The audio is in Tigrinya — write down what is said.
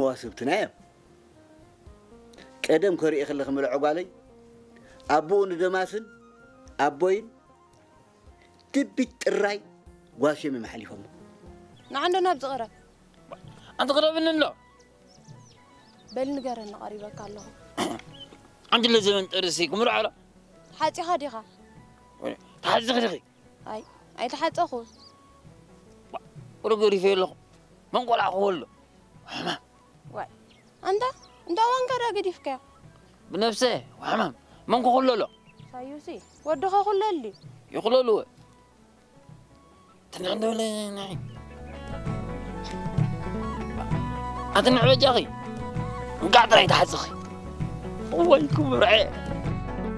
መዋስብትና እዮም። ቀደም ከርእየ ከለኺ ምልዖ ጓለይ ኣቦኡ ንደማስን ኣቦይን ትቢት ጥራይ ጓስዮም እዮም ሓሊፎሞ። ንዓንዶ ናብ ዝቕረብ ኣንቲ ክረብኒ ኣሎ በል ንገረኒ ቀሪበካ ኣለኹ። ኣንቲ ለዘበን ጥርሲ ክምርዖ ኣሎ ሓፂኻ ዲኻ? ተሓዚኺ ዲኺ ኣይ ኣይተሓፀኹ። ወረ ገሪፈ ኣለኹ መንቆላዕኹ ኣሎ ዋይ ኣንታ እንዳ ዋንከዳ ገዲፍካዮ ብነብሰ ሕማም መን ክኽለሎ ሳዩሲ ወድኻ ኩለሊ ይኽለልወ ትንዕንደብለ ናይ ኣቲ ንዕበጃኺ እንቃዕ ጥራይ ተሓፅኺ ወይ ክምርዐ